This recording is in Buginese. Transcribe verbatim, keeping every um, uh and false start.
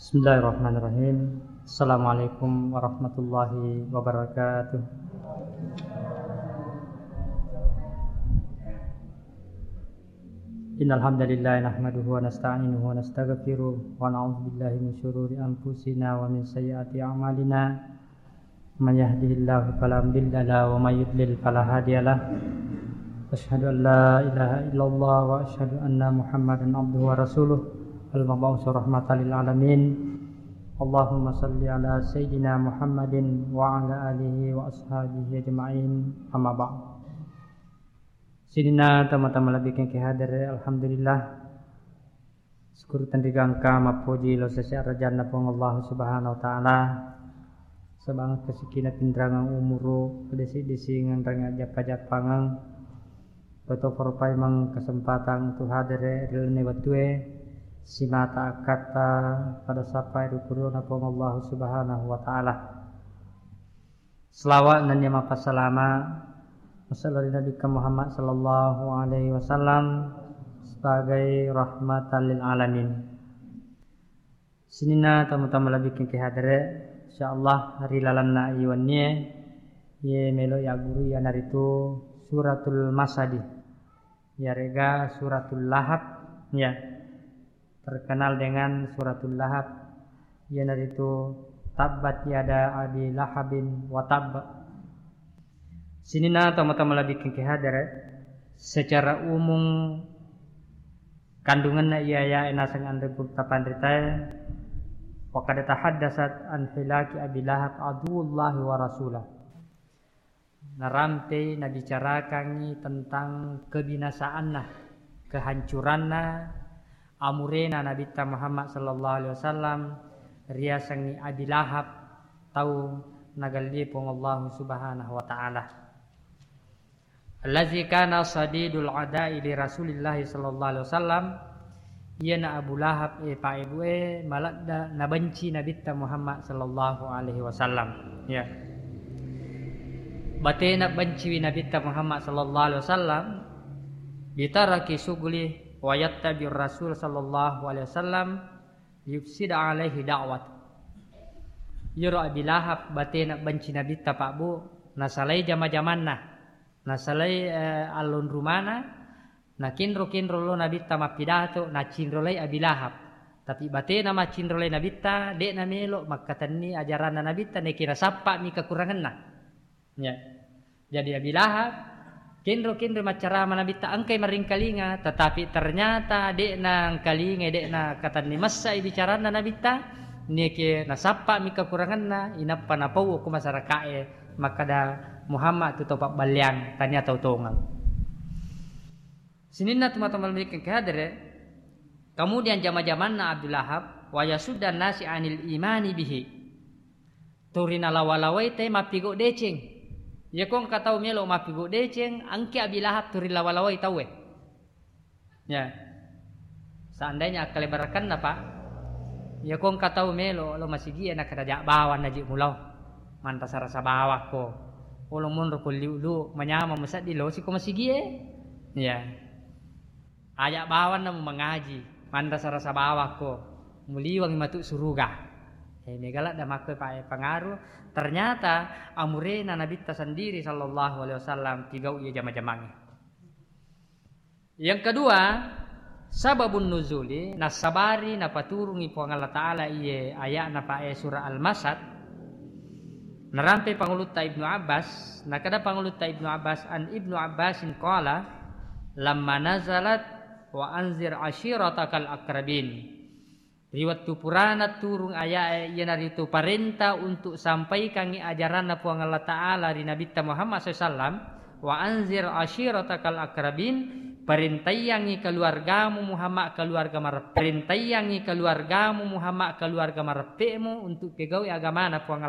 Bismillahirrahmanirrahim. Assalamualaikum warahmatullahi wabarakatuh. Innal hamdalillah nahmaduhu wa nasta'inuhu wa nastaghfiruh wa na'udzu billahi min syururi anfusina wa min sayyiati a'malina. من يهده الله فلا مضل له ومن يضلل فلا هادي له. أشهد أن لا إله إلا الله وأشهد أن محمدا عبده ورسوله المبعوث رحمة للعالمين. اللهم صل على سيدنا محمد وعلى آله وأصحابه أجمعين. أما بعد. Sininna tama-tama lebbi kengke hadere, alhamdulillah. Syukur tenri gangka mappoji lo sese arajanna Puang Allah Subhanahu wa Ta'ala. Sabang kesikina pinrangang umuru, desi-desi ngenrang jappa-jappangang. Beto forpai mang kesempatan tu hadere rilene wetue, simata akatta pada sapai rukuruna Puang Allah Subhanahu wa Ta'ala. Selawat nennia mappasalama massala ri Nabitta Muhammad sallallahu alaihi wasallam sebagai rahmatan lil alamin. Sininna tama-tama lebbi kengke hadere, insyaallah ri lalenna iwennie ye melo ya guru iyanaritu suratul masadi, yarega suratul lahab, ya, terkenal dengan suratul lahab, iyanaritu tabbat yada abi lahabin wa tabb. Sininna tama-tama lebbi kengke hadere, secara umum kandungenna iya ya naseng anre gurutta panritae, wa qad tahaddasat an hilaki abi lahab adullahi wa rasulah. Narampei nabicarakangngi tentang kebinasaanna, kehancuranna amurena Nabitta Muhammad sallallahu alaihi wasallam, riasengngi Abi Lahab, tau nagallie Puang Allahu Subhanahu wa Ta'ala. Allazi kana sadidul ada'i li Rasulillahi sallallahu alaihi wasallam, iyana Abu Lahab, e, paebu e, maladda nabenci Nabitta Muhammad sallallahu alaihi wasallam. Ya. Batena benciwi Nabitta Muhammad sallallahu alaihi wasallam, bitaraki sugli wa yattabi'ur Rasul sallallahu alaihi wasallam, yufsida alaihi da'wat. Iyaro Abi Lahab batena benci Nabitta, Pak Bu, nasalai jama-jamanna, nasalai, eh, allonrumana, nakinro-kinro lo Nabitta mappidato, nacinrolai Abi Lahab. Tapi batena macinrolai Nabitta, de'na melo makkatenni ajaranna Nabitta, neke nasappa'mi kekurangenna. Ya. Jadi Abi Lahab, kenro-kenro maccarama Nabitta engkai maringkalinga, tetapi ternyata de'na engkalingai, de'na katenni messai bicaranna Nabitta, neke nasappa'mi kekurangenna, inappa napau ko masyarakae makkada Muhammad tu tau pabballeang, tania tau tongeng. Sininna tuma-tuma malikkeng ke hadere, kemudian jama-jamanna Abu Lahab, wa yasuddan nasi anil imani bihi. Turi nalawa-lawai te mappigau deceng. Iyako engka tau melo mappigau deceng, engka Abi Lahab turi lawa-lawai tauwe. Ya. Seandainya akkalebarakkanna, Pak, iyako engka tau melo lo masigie, nakkeda, "Ja bawang naji mulao. Manrasa-rasa bawakko. Olo monro ko liu-liu, manyameng museddi losiko masigie." Ya. Aja bawanna mu mangaji, manrasa-rasa bawakko, muliwangi matu suruga. Eh, mega ladda makko pa-, pangaru. Ternyata amurena Nabitta sendiri sallallahu alaihi wasallam pigau iya jama-jamangnge. Yang kedua, sababun nuzuli, nassabari napaturungi Puang Allah Ta'ala iye aya'na pa-, eh, surah Al-Masad, Narampe Pangulutta Ibnu Abbas, nakada Pangulutta Ibnu Abbas, an Ibnu Abbasin qala, "Lamma nazalat wa anzir ashiratakal akrabin." Ri wettu purana turung aya'e, iyanaritu parenta untuk sampaikangngi ajaranna Puang Allah Ta'ala ri Nabitta Muhammad sallallahu alaihi wasallam, "Wa anzir ashiratakal akrabin," parentaiyangngi keluargamu Muhammad, keluarga marep-, parentaiyangngi keluargamu Muhammad, keluarga mareppemu untuk pegaui agamana Puang Allah